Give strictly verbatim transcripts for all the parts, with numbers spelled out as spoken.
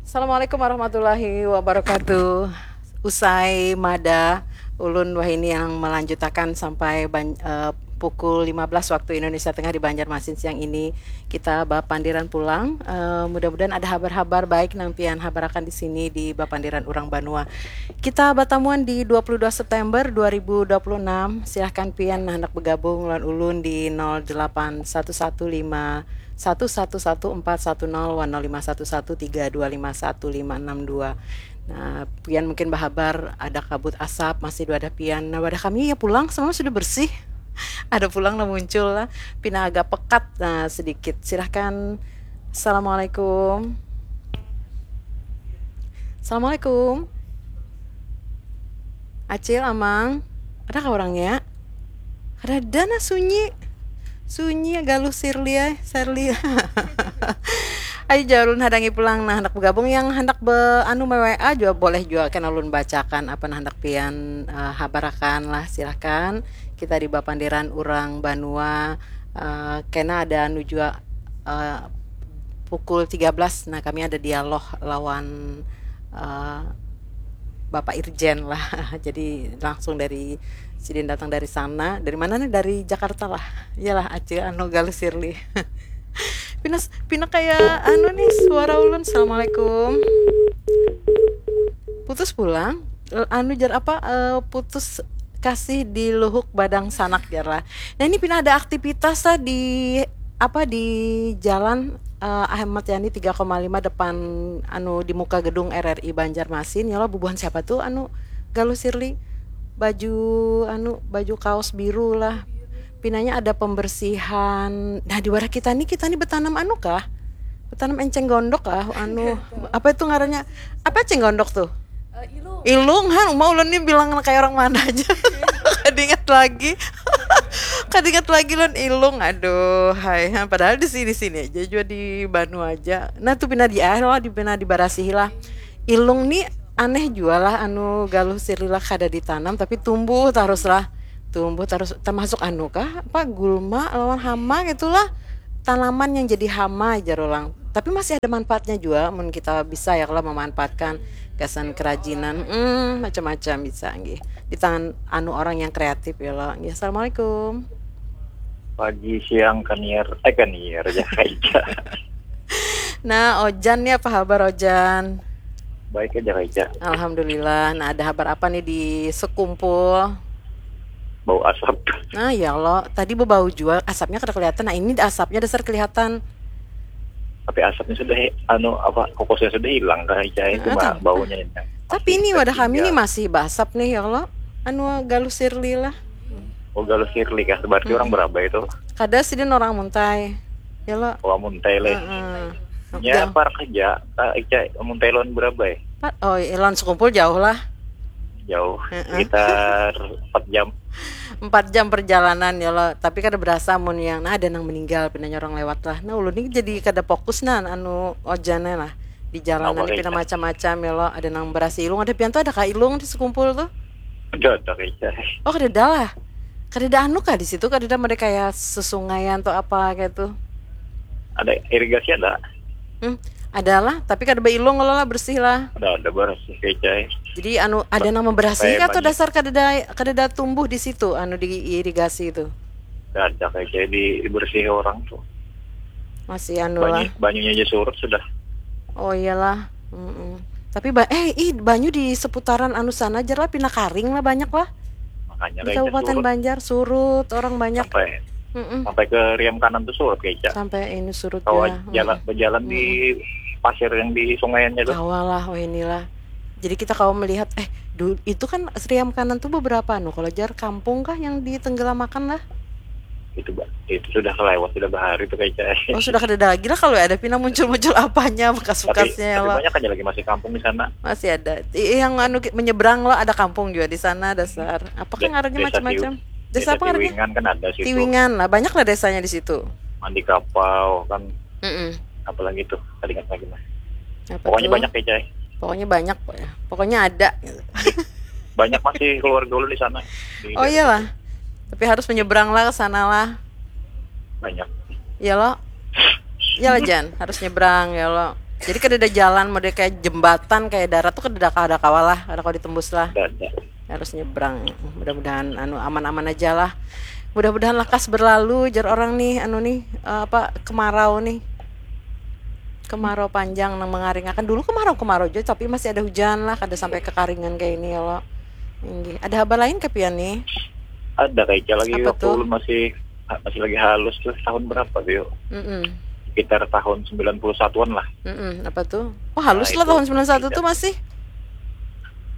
Assalamualaikum warahmatullahi wabarakatuh. Usai mada, ulun wahini yang melanjutakan sampai ban- eh, pukul lima belas waktu Indonesia Tengah di Banjarmasin siang ini. Kita bapandiran pulang. Eh, mudah-mudahan ada habar-habar baik nang pian habarakan di sini di bapandiran urang banua. Kita batamuan di dua puluh dua September dua ribu dua puluh enam. Silahkan pian nah hendak bergabung lawan ulun di nol delapan satu satu lima satu satu satu empat satu nol wan nol lima satu satu tiga dua lima satu lima enam dua. Nah, pian mungkin bahabar ada kabut asap, masih wadah pian. Nah, wadah kami ya pulang, semua sudah bersih. Ada pulang lah muncul lah. Pina agak pekat, nah, sedikit. Silahkan. Assalamualaikum. Assalamualaikum. Acil, Amang. Adakah orangnya? Kadada nah, sunyi. Sunyi, galuh Sirli ai, Serli. Ayo jar ulun hadangi pulang. Nah, handak begabung yang handak be anu me-W A jua boleh jua, kena ulun bacakan apa nah handak pian eh, habarakan lah, silahkan. Kita di bapandiran urang banua eh, kena ada anu jua eh, pukul tiga belas. Nah, kami ada dialog lawan eh, Bapak Irjen lah. Jadi langsung dari sidin datang dari sana. Dari mana nih? Dari Jakarta lah. Iyalah, Acil anu galuh Sirli. Pinas pina kayak anu nih suara ulun. Assalamualaikum. Putus pulang. Eh, anu jar apa eh, putus kasih di luhuk badang sanak jar lah. Nah, ini pina ada aktivitas lah di apa di jalan eh, Ahmad Yani tiga koma lima depan anu di muka gedung R R I Banjarmasin ya lo. Bubuhan siapa tuh anu galuh Sirli, baju anu baju kaos biru lah. Pinanya ada pembersihan. Nah, di warah kita nih, kita nih betanam anu kah? Betanam enceng gondok kah? Anu apa itu ngarannya? Apa enceng gondok tuh? Eh, ilung. Ilung, han, uma ulun nih bilang kayak orang mana aja. Kada ingat lagi. Kada ingat lagi lun ilung. Aduh, hai. Han, padahal di sini-sini aja juga di Banu aja. Nah, tuh pina di ah, lah, di pina dibarasihi lah. Ilung nih aneh jua lah anu galuh Sirli lah, kada ditanam tapi tumbuh terus lah. Tumbuh terus, termasuk anu kah? Apa gulma lawan hama gitulah. Tanaman yang jadi hama jar orang. Tapi masih ada manfaatnya juga mun kita bisa ya kalau memanfaatkan gasan kerajinan hmm, macam-macam bisa nggih di tangan anu orang yang kreatif ya lo nggih. Assalamualaikum. Pagi, siang, kaniar, eh kaniar aja aja. Nah, Ojan nih apa kabar Ojan? Baik aja aja. Alhamdulillah. Nah, ada kabar apa nih di sekumpul? Bau asap. Nah, ya Allah, tadi bebau juga, asapnya kada kelihatan. Nah, ini asapnya dasar kelihatan. Tapi asapnya sudah anu apa, kokosnya sudah hilang kan, cai, cuma baunya ini. Tapi ini wadah kami ini masih basap nih ya Allah. Anu galuh Sirli lah. Oh, galuh Sirli kah? Berarti orang berapa itu? Kada, sidin orang Muntai. Ya lo. Wah, Muntai leh. Heeh. Ya, par kerja. Ah, Ica, Muntai lawan berapa ya? Oh, lawan sekumpul jauh lah. Jauh. Sekitar empat jam. Empat jam perjalanan ya lo. Tapi kada berasa mun yang nah ada nang meninggal, pinanya orang lewat lah. Nah, ulun ini jadi kada fokus nah anu Ojannya lah. Di jalan ini pina macam-macam ya lo. Ada nang berasa ilung, ada pian tuh, ada kah ilung di sekumpul tuh? Ada, ada kayaknya. Oh, kada ada lah. Kada ada anu kah di situ? Kada ada mereka kayak sesungaian atau apa kayak tuh? Ada irigasi ada. Hmm, ada lah, tapi kada beilung kalau lah, bersih lah. Ada, ada bersih kayaknya. Jadi anu ada nang memberasih kah atau dasar kada ada, kada ada tumbuh di situ anu di irigasi itu? Ada kayaknya di dibersihi orang tuh. Masih anu lah. Banyu, banyunya aja surut sudah. Oh iyalah. Mm-mm. Tapi ba eh ih banyu di seputaran anu sana aja lah pina karing lah banyak lah. Makanya Di kayaknya Kabupaten surut Banjar surut orang banyak. sampai Mm-mm. sampai ke riam kanan tuh surut kayaknya. Sampai ini surut Kalau ya. jalan berjalan di pasir yang di sungaiannya tuh. Kawa lah, oh inilah. Jadi kita kawa melihat eh dulu itu kan riam kanan tuh beberapa anu kalau jar kampung kah yang ditenggelamakan lah. Itu ba- itu sudah kelewat, sudah bahari tuh kayaknya. Oh sudah kada ada lagi lah kalau ada pina muncul-muncul apanya Tapi, bekas-bekasnya ya tapi lo. Banyak aja lagi masih kampung di sana. Masih ada. I- yang anu ki- menyeberang lo ada kampung juga di sana dasar. Apa kan De- ngarannya desa macam-macam. Tiwi- Desa apa ngarannya? Tiwingan kan ada situ. Tiwingan lah, banyak lah desanya di situ. Mandi kapau kan, Mm-mm. apalagi tuh, tadi ingat lagi mah. Apa Pokoknya tuh? Banyak kayaknya. Pokoknya banyak pokoknya. Pokoknya ada. Banyak masih keluarga ulun di sana. Di Oh daerah iyalah. Tapi harus menyeberang lah ke sana lah. Banyak. Ya lo. Ya lah Jan, harus nyebrang ya lo. Jadi kada ada jalan, model kayak jembatan, kayak darat tuh kada ada, kada kawa lah, kada kawa ditembus lah. Ada, ada. Harus nyebrang. Mudah-mudahan anu aman-aman aja lah. Mudah-mudahan lakas berlalu, jar orang nih, anu nih, eh, apa, kemarau nih. Kemarau panjang nang mengaringakan. Dulu kemarau-kemarau aja, tapi masih ada hujan lah, kada sampai kekaringan kayak ini ya lo. Inggih. Ada habar lain kah pian nih? Ada kayak lagi Apa waktu tuh? Ulun masih masih lagi halus tuh, tahun berapa tuh yuk? Mm-mm. Sekitar tahun sembilan puluh satuan lah. Mm-mm. Apa tuh? Oh, halus Nah, lah itu tahun sembilan satu iya. Tuh masih.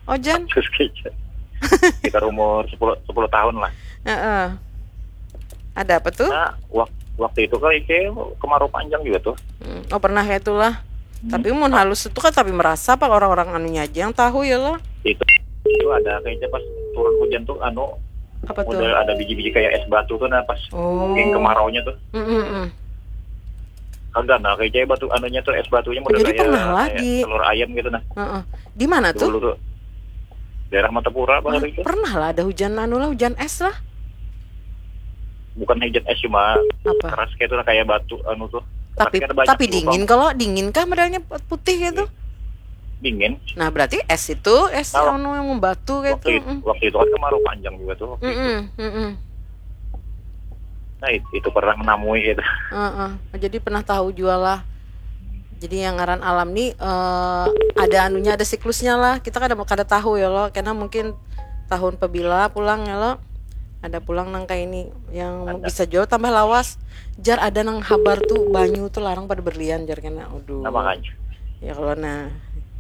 Ojan. Terus kayaknya sekitar umur sepuluh sepuluh tahun lah. Heeh. Ada apa tuh? Nah, wak- waktu itu kayak kayak kemarau panjang juga tuh. Hmm. Oh, pernah kayak itulah. Tapi mun halus itu kan tapi merasa apa orang-orang anunya aja yang tahu ya lah. Itu itu ada kayaknya pas turun hujan tuh anu Apa tuh? Model ada biji-biji kayak es batu tuh, nah pas Oh. Yang kemaraunya tuh. Mm-mm-mm. Kagak, nah, kayaknya batu anunya tuh, es batunya model Jadi kayak, pernah lah kayak di- telur ayam gitu, nah. Heeh. Di mana tuh? Dulu tuh daerah Martapura apa hari itu. Pernah lah ada hujan anu lah, hujan es lah. Bukan hujan es, cuma Apa? Keras kayak tuh, nah, kayak batu anu tuh. Tapi Kan banyak tapi lubang. Dingin kalau dingin kah modelnya putih gitu? Dingin. Nah, berarti es itu es Kalau- anu yang membatu gitu. Waktu itu, Mm. waktu itu kan kemarau panjang juga tuh. Waktu itu. Mm-mm, mm-mm. Nah, itu, itu pernah menamui gitu. Heeh. Jadi pernah tahu juga lah. Jadi yang ngaran alam nih eh, ada anunya, ada siklusnya lah. Kita kada kada tahu ya lo. Karena mungkin tahun pebila pulang ya lo. Ada pulang nang kayak ini yang Ada. Bisa jauh tambah lawas. Jar ada nang habar tuh banyu tuh larang pada berlian jar kena. Aduh. Nah, makanya. Ya kalau nah.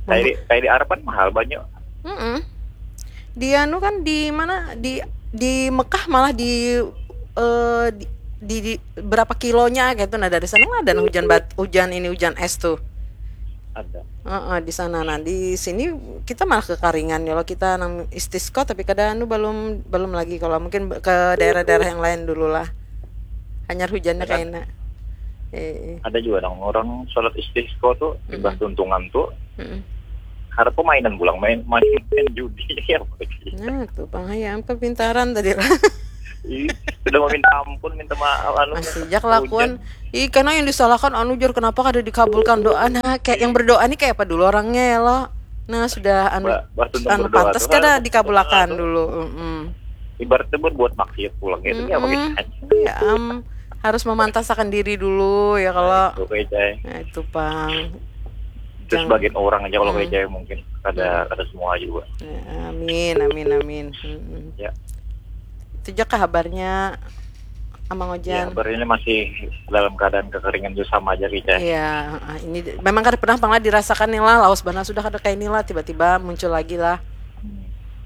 Kayak di, kayak di Arab kan mahal banyak. Mm-mm. Di anu kan di mana di di Mekah malah di eh, di, di, di berapa kilonya gitu. Nah, dari sana kan ada hujan bat, hujan ini, hujan es tuh. Ada. Heeh, di sana. Nah, di sini kita malah kekaringan ya lo, kita nang istisqa tapi kada anu, belum belum lagi. Kalau mungkin ke daerah-daerah yang lain dulu lah. Hanyar hujannya Ya kan? Kayak enak. Eh, eh. Ada juga dong orang sholat istisqa tuh, limbah Mm-mm. tuntungan tuh, Mm-mm. harap permainan pulang, main main, main judi apa gitu. Nah, tuh pang hayam kepintaran tadi lah. Ih, sudah meminta ampun, minta maaf, anu, Masih jak lakuan. Ih, karena yang disalahkan anu jar, kenapa kada dikabulkan doa? Nah, kayak yang berdoa nih kayak apa dulu orangnya ya lo? Nah, sudah anu Mbak, Mbak Tuntung anu berdoa pantas tuh, kada anu, dikabulakan tuh. Dulu. Mm-mm. Ibaratnya buat, buat maksiat pulang gitu ya, apa Mm-mm. gitu. Iya, am, harus memantasakan diri dulu ya kalau. Oke, Cai. Nah, itu pang. Terus Jangan- sebagian orang aja kalau Hmm. kayak Cai mungkin kada kada semua juga. Ya, amin, amin, amin. Mm-mm. Ya. Itu aja kah habarnya Amang Ya, Ojan. Kabarnya masih dalam keadaan kekeringan juga sama aja, Cai. Iya, heeh, ini di- memang kada pernah pang lah dirasakan nih lah, lawas banar sudah kada kayak ini lah, tiba-tiba muncul lagi lah.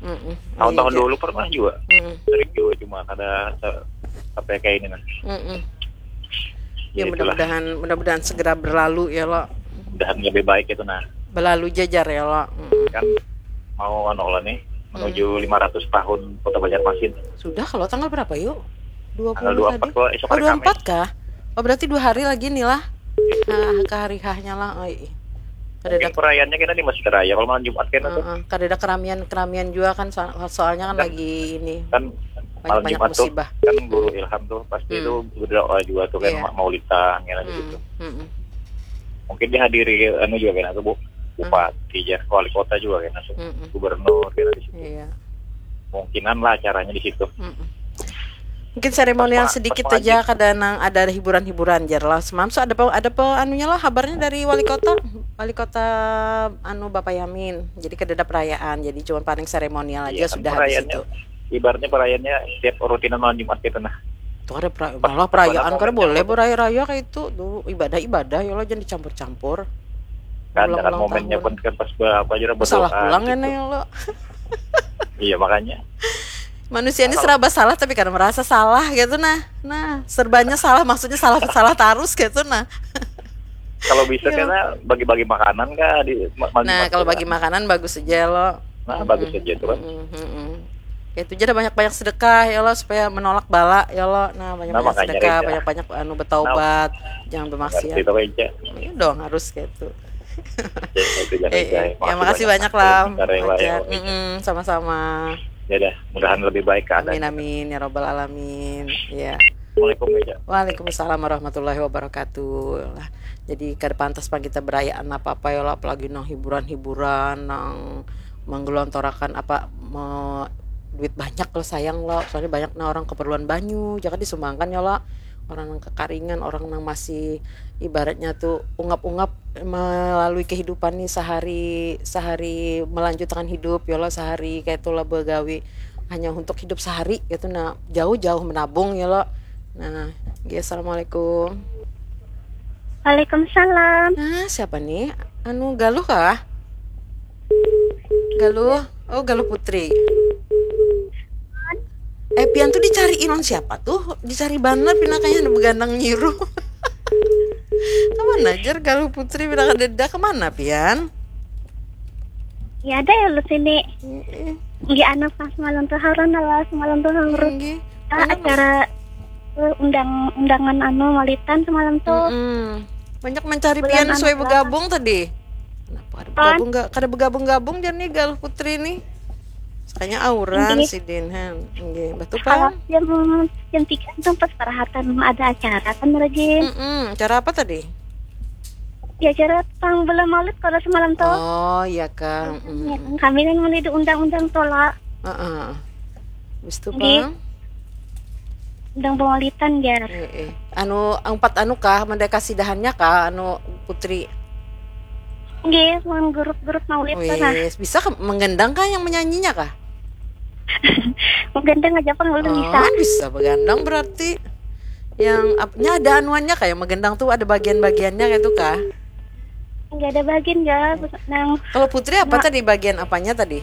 Mm-mm. Tahun-tahun Iya, dulu pernah juga. Mm-mm. Sering juga, cuma kada se- sampai kayak ini, nah. Mm-mm. Ya, Ya, itulah. Mudah-mudahan mudah-mudahan segera berlalu ya lo. Mudahan lebih baik itu, nah. Berlalu jajar ya lo. Mm-mm. Kan mau anu lah nih, menuju lima ratus tahun Kota Banjarmasin. Sudah kalau tanggal berapa yuk? Dua Tanggal puluh dua tadi. empat kok, esok Oh, hari dua Kamis. Empat kah? Oh, berarti dua hari lagi nih lah. Nah, ke hari hahnya lah. Oh, iya. Kada Mungkin ada perayaannya kita di Masjid Raya. Kalau malam Jumat kan itu Heeh, kada ada keramian-keramian juga kan, so- soalnya kan Kan- lagi ini kan malam banyak-banyak Jumat tuh musibah. Kan guru Ilham tuh pasti Hmm. itu berdoa juga tuh kan, Iya. ma- maulidan kan di Hmm, situ. mm-mm. Mungkin dihadiri anu juga kan tuh, Bu, bupati ya, wali kota juga kan tuh. Mm-mm. Gubernur kan di situ. Iya. Kemungkinan lah acaranya di situ. Mm-mm. Mungkin seremonial Pas ma- sedikit pas aja, maghrib. Kada nang ada hiburan-hiburan jar lah. Semam so ada pe, ada pe anunya lah, habarnya dari wali kota, wali kota anu Bapak Yamin. Jadi kada ada perayaan, jadi cuma paling seremonial aja. Iya, kan Sudah habis perayaannya, itu. Ibaratnya perayaannya setiap rutinan malam Jumat gitu, nah. Tuh ada pra, malah perayaan kada boleh beraya-raya kayak itu. Duh, ibadah-ibadah ya lo, jangan dicampur-campur. Kan dengan momennya pun kan pas berapa aja berdoa. Salah pulang kan ya lo. Iya, makanya. Manusia ini serba salah tapi karena merasa salah gitu, nah. Nah, serbanya salah, maksudnya salah salah terus gitu, nah. Kalau bisa karena bagi-bagi makanan kah di ma- malam Nah, Jumat kalau tuh, bagi makanan bagus aja lo. Nah, bagus aja tuh kan. Mm-mm, mm-mm. Ya, itu aja ada banyak-banyak sedekah ya lo, supaya menolak bala ya lo. Nah, banyak-banyak Nah, makanya sedekah, kayak banyak-banyak anu bertaubat, jangan bermaksiat. Itu kayaknya. Iya dong, harus gitu. Ya, itu jangan Eh, eh. kayak. Ya, makasih banyak lah. Bentar ya, Pak, ya. Mm-mm, sama-sama. Ya udah, mudahan lebih baik keadaan. Amin amin ya robbal alamin. Ya. Assalamualaikum, Meja. Waalaikumsalam warahmatullahi wabarakatuh. Lah, jadi kada pantas pang kita berayaan apa-apa ya lah, apalagi nang hiburan-hiburan, nang menggelontorakan apa me, duit banyak lo, sayang lo, soalnya banyak nah orang keperluan banyu, jangan disumbangkan ya lah, orang nang kekaringan, orang nang masih ibaratnya tuh ungap-ungap melalui kehidupan nih sehari sehari melanjutkan hidup ya lo, sehari kayak itulah begawi hanya untuk hidup sehari gitu nah, jauh-jauh menabung ya lo. Nah, oke, assalamualaikum. Waalaikumsalam. Nah, siapa nih? Anu, Galuh kah? Galuh. Oh, Galuh Putri. Eh, pian tuh dicari ilang siapa tuh? Dicari banar pina kayaknya ada begandang nyiru. Kaman ajar Galuh Putri pina kadeda, kemana pian? Ya ada ya lu sini. Iya, anak pas semalam tuh haron lah, semalam tuh haron. Acara undang undangan anu malitan semalam tuh. Banyak mencari pian suai begabung tadi. Kenapa kada begabung, kada begabung-gabung jar nih Galuh Putri nih. Kayaknya auran sidin han. Nggih, betul kan? Jam jam tiga tuh pas parahatan ada acara kan lagi. Mm-mm. Acara apa tadi? Ya acara pang belum maulid kalau semalam tuh. Oh, iya kah. Mm-mm. Kami kan mau diundang-undang tuh lah. Heeh. Habis itu Nggih. Pang? Undang pemaulitan ya. Eh, eh. Anu empat anu kah, mendekasi dahannya kah, anu Putri? Nggih, mau grup-grup maulid tuh nah. Wis, bisa ke, menggendang kah yang menyanyinya kah? Menggendang aja pang belum bisa. Oh, bisa begandang berarti. Yang apanya ada anuannya kah, yang menggendang tuh ada bagian-bagiannya kayak itu kah? Nggak ada bagian ya, nang Kalau Putri apa tadi, bagian apanya tadi?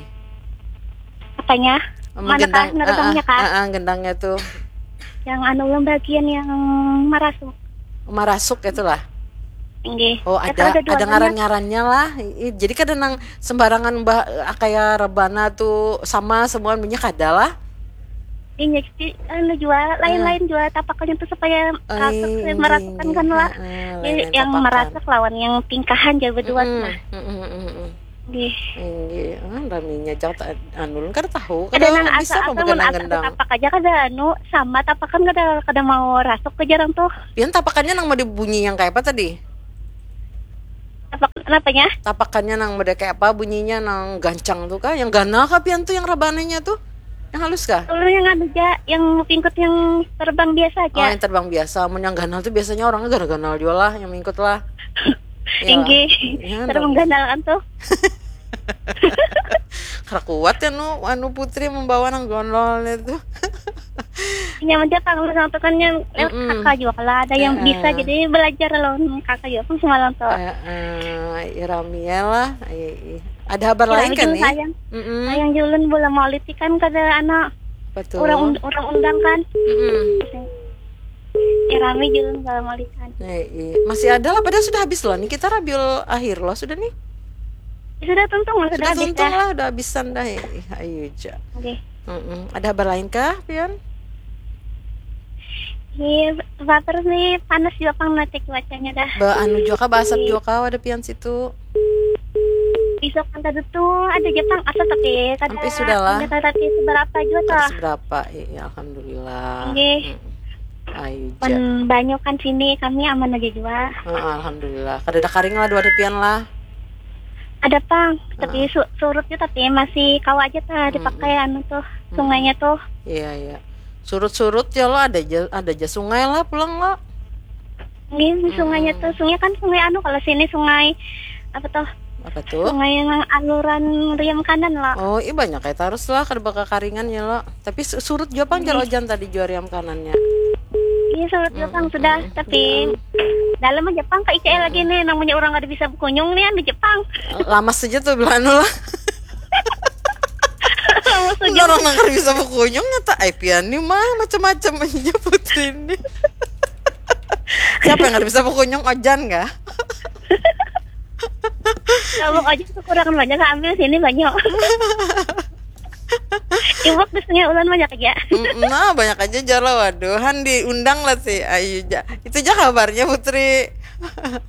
Apanya? Mana kah? Menurutnya kah? Ah, ah, gendangnya tuh Yang anu yang bagian yang merasuk. Marasuk itulah. Nggih. Oh, Ya, ada kalau ada dua-duanya. ngaran-ngarannya lah. I- Jadi kada nang sembarangan bah, kayak rebana tuh sama semua punya kada lah. Ini sih anu jua lain-lain jua tapakannya tuh supaya Ai, merasukkan kan lah. ah, Jadi lain-lain yang tapakan. Merasuk lawan yang tingkahan jauh berdua Mm-mm, nah. mm-mm, mm-mm. Nggih. Inggih, ah, raminya cak ta- anu ulun kada tahu. Ada Kada nang bisa asa-asa mun beganang asa gendang. Tapak aja kada anu sama tapakan kada kada mau rasuk ke jarang tuh. Pian tapakannya nang mau dibunyi yang kayak apa tadi? Tapak kenapanya? Tapakannya nang model kayak apa, bunyinya nang gancang tuh kah? Yang ganal kah pian tuh, yang rabananya tuh? Yang halus kah? Dulu yang anu aja, yang pingkut yang terbang biasa Oh, aja. Yang terbang biasa. Mun yang ganal tuh biasanya orangnya ganal-ganal juga lah, yang mingkut lah. Iya. Inggih. Iya, Terbang dong. Ganal kan tuh. Karena kuat ya nu, anu Putri membawa nang gondol itu. Nyaman aja pang lu sangtukan yang eh, Mm-mm. Kakak juga kalau ada yang Heeh. Bisa jadi belajar lawan kakak juga pang semalam tuh. Eh, eh, ya rami ya lah. Ai, ai. Ada kabar Ya, lain kan lagi nih? Sayang, Mm-mm. Sayang julun bola maulid kan kada anak Betul. Orang und- orang undang kan. Mm-mm. Ya rami julun bola maulid kan. Eh, iya. Masih ada lah, padahal sudah habis loh nih kita Rabiul akhir loh sudah nih. Ya, sudah tuntung lah, sudah Sudah habis tuntung dah. Lah, udah habisan dah. Eh, ayo aja. Oke. Mm-mm. Ada kabar lain kah, Pian? Iya, baper nih panas juga pang nanti cuacanya dah. Ba anu juga kah, basap juga kah, ada Pian situ? Besok kan tadi tuh ada aja pang asap tapi kada Sampai sudah lah. Kada tadi seberapa juga Kada tuh. Seberapa? Iya, alhamdulillah. Nggih. Mm-mm. Ayo aja. Pan banyak kan sini kami aman aja juga. Heeh, alhamdulillah. Kada ada karing lah dua ada Pian lah. Ada pang, tapi su- surut juga tapi masih kawa aja tah dipakai anu tuh sungainya tuh. Iya, iya. Surut-surut ya lo ada aja, ada aja sungai lah pulang lo. Ini sungainya tuh, sungai kan sungai anu kalau sini sungai apa tuh? Apa tuh? Sungai yang aluran riam kanan lah. Oh, iya banyak kayak terus lah kada bakal karingan ya lo. Tapi su- surut juga pang jar ojan tadi jua riam kanannya. Iya surut juga pang sudah, tapi dalam aja pang ke I K L lagi nih, namanya orang kada bisa berkunjung nih anu Jepang. Lamas saja tuh bila anu lah. Lamas saja. Enggak orang nang kada bisa berkunjung nyata. Ai Pian nih mah macam-macam aja Putri ini. Siapa yang kada bisa berkunjung, ojan kah? Kalau aja kekurangan banyak ambil sini banyak. Iwak biasanya ulan banyak aja. Mm, nah, banyak aja jar lah. Waduh, han diundang lah sih. Ayo ja. Itu aja kabarnya Putri.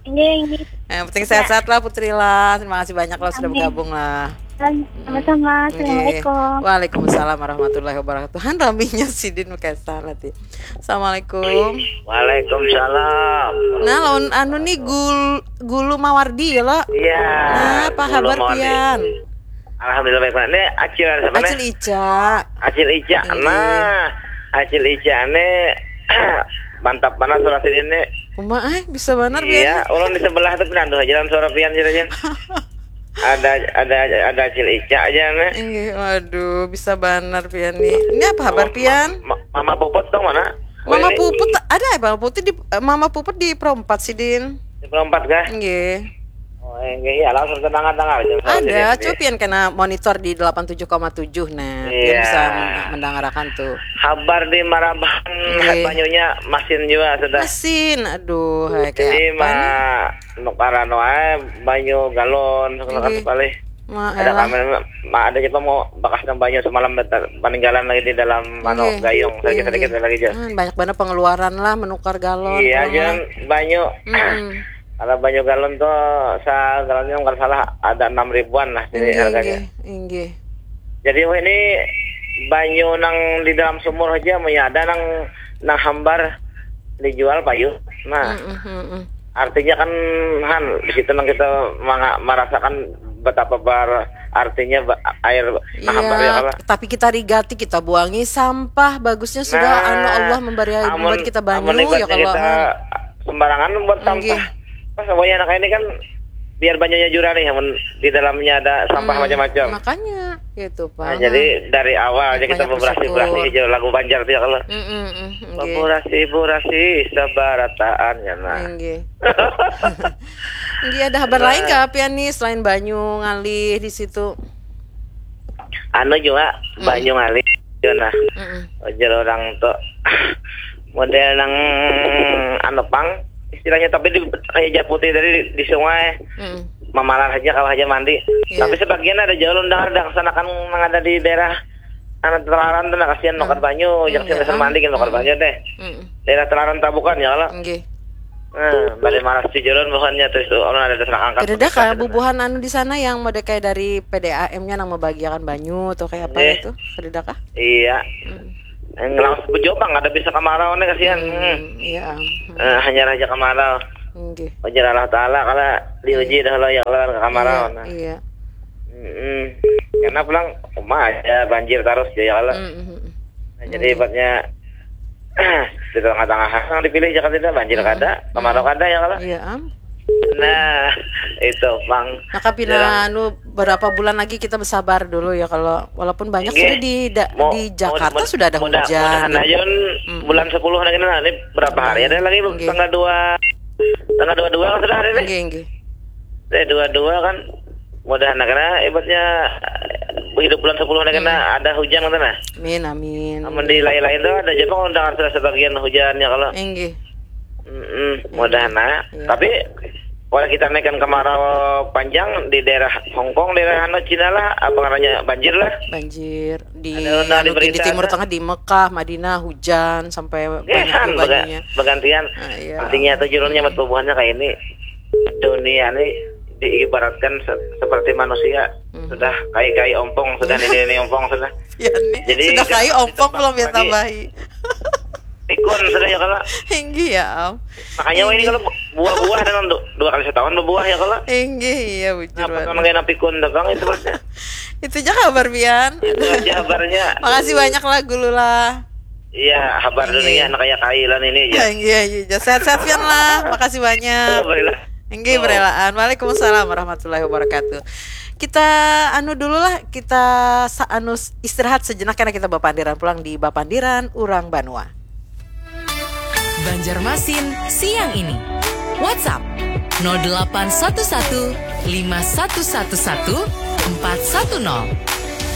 Ini ini. Yang penting sehat-sehat lah Putri lah. Terima kasih banyak lah sudah Amin. Bergabung lah. Sama-sama. Nggih. Assalamualaikum. Waalaikumsalam warahmatullahi wabarakatuh. Han raminya sidin pakai salah ti. Assalamualaikum. Waalaikumsalam. Nah, lawan anu nih gul gulu mawardi ya lo. Iya. Nah, apa Gulu kabar Mawardi. Pian? Alhamdulillah baik. Ini Acil siapa nih? Acil Ica. Acil Ica. Iya. Nah, Acil Ica ini mantap mana suara sini. Uma eh bisa benar Iya, Pian. ulun di sebelah tuh pinandu aja dalam suara pian sih aja. Ada ada ada Acil Ica aja nih. Inggih, waduh, bisa benar Pian nih. Ini apa kabar Mama- Pian? Ma- Mama Puput dong mana? Mama Ini- Puput ada ya Mama Puput di eh, Mama Puput di Pro empat sidin. Di Pro empat kah? Inggih. Oh, enggak iya langsung tenang tenang aja. Ada, coba Pian kena monitor di delapan tujuh koma tujuh nah. Pian Iya. Bisa men- mendengarakan tuh. Habar di Maraban Nggih. Banyunya masin juga sudah. Masin, aduh, hai, Jadi kayak apa nih? ma nukaran wae banyu galon segala Nggih. sekali. Ma, Ada elah. kami ma- ada kita mau bekas banyu semalam betul- peninggalan lagi di dalam anu Nggih. gayung sedikit Nggih, sedikit nggih. lagi aja. Hmm, banyak banget pengeluaran lah menukar galon. Iya Kalau aja nggak- banyu. Mm-mm. Ada banyu galon tuh segalonnya nggak salah ada enam ribuan lah jadi Inggih, harganya. Inggih, inggih. Jadi wah ini banyu nang di dalam sumur aja punya ada nang nang hambar dijual payu. Nah, Mm-mm, mm-mm. artinya kan han di situ nang kita manga- merasakan betapa bar artinya ba- air nang hambar ya Iya, kalau. Tapi kita rigati, kita buangi sampah. Bagusnya sudah Nah, anu Allah memberi amun- membuat kita amun banyu ya ibaratnya kalau kita Han. Sembarangan buat Inggih. sampah. Pas wayah anak ini kan biar banyunya jurah nih, amun di dalamnya ada sampah Hmm, macam-macam. Makanya gitu, Pak. Nah, jadi dari awal aja kita Banyak beberasi bersyukur. berasi aja lagu Banjar dia kalau. Mm-mm, mm, nggih. Beberasi berasi sebarataan ya nah. Nggih. Nggih, ada kabar lain kah Pian nih selain banyu ngalih di situ? Anu juga Mm. Banyu ngalih ya nah. Mm-mm. Ujar orang tuh model nang anu pang istilahnya tapi di kayak Japuti tadi di, di sungai Mm-mm. mamalar aja kalau aja mandi. Iya. Tapi sebagian ada jauh undang ada kesanakan nang ada di daerah anu Telaran tuh nah kasihan Hmm. nukan banyu, Hmm, jangan iya. sih mandi kan nukan Hmm. banyu deh. Mm-mm. Daerah Telaran Tabukan ya kalau. Nggih. Nah, bari malas sih jalan bahannya terus tuh orang ada terang angkat. Kadada kah bubuhan anu di sana yang model kayak dari P D A M-nya nang membagiakan banyu atau kayak apa Nggih. Itu? Kadada kah? Iya. Mm. Yang langsung bejobang ada bisa kemarau nih kasihan. Hmm. Hmm, iya. Hmm. Eh, hanya aja kemarau. Nggih. Ujar Allah Taala kalau diuji dah lo ya kalau kemarau. Iya, Nah. Iya. Mm-mm. Karena pulang rumah aja banjir terus ya kalau. Mm, mm, mm. Nah, jadi ibaratnya di tengah-tengah yang dipilih jangan tidak banjir Mm. kada, kemarau kada ya kalau. Iya, am. Nah, itu bang. Maka pina anu berapa bulan lagi kita bersabar dulu ya kalau walaupun banyak Nggih. sudah di da- Mau- di Jakarta mau- sudah ada mudah- hujan. Mudahan Gitu. aja Mm. Bulan sepuluh lagi nah, ini berapa hari ada lagi Nggih. tanggal dua tanggal dua dua kan sudah hari ini. Nggih, nggih. Eh dua dua kan mudahan nah, karena ibaratnya hidup bulan sepuluh lagi Hmm. nah ada hujan kan nah. Amin, amin. Amun di lain-lain tuh ada aja pang undangan sudah sebagian hujannya kalau. Nggih. Mm-mm, mudahan nah. Iya. Tapi kalau kita naikkan kemarau panjang di daerah Hongkong, daerah anu Cina lah, apa namanya banjir lah. Banjir di Ada undang anu, di berita di Timur ada. Tengah di Mekah, Madinah hujan sampai Eh, banyak kan tuh bega- banyunya. Bergantian. Ah, iya. Artinya tuh judulnya buat bubuhannya kayak ini. Dunia ini diibaratkan se- seperti manusia Hmm. sudah kai-kai ompong, sudah ini ini ompong sudah. Ya nih, Jadi, sudah kayu kita- ompong kita belum ya tadi- tambahi. Pikun sudah ya kalau. Tinggi ya, Am. Makanya ini kalau buah-buah dengan du- dua kali setahun berbuah ya kalau. Tinggi iya bujur Nah, pas banget. orang kayak pikun tuh bang itu maksudnya. Itu aja kabar Pian. Itu aja kabarnya. Makasih banyak lah Gulu lah. Iya, kabar Iya. Dunia anak kayak kailan ini aja. Iya, iya, iya. Sehat-sehat Pian lah. Makasih banyak. Alhamdulillah. Enggih, Oh. berelaan. Waalaikumsalam warahmatullahi wabarakatuh. Kita anu dulu lah, kita sa- anu s- istirahat sejenak karena kita bapandiran pulang di Bapandiran Urang Banua. Banjarmasin siang ini. WhatsApp nol delapan satu satu lima satu satu satu empat satu nol.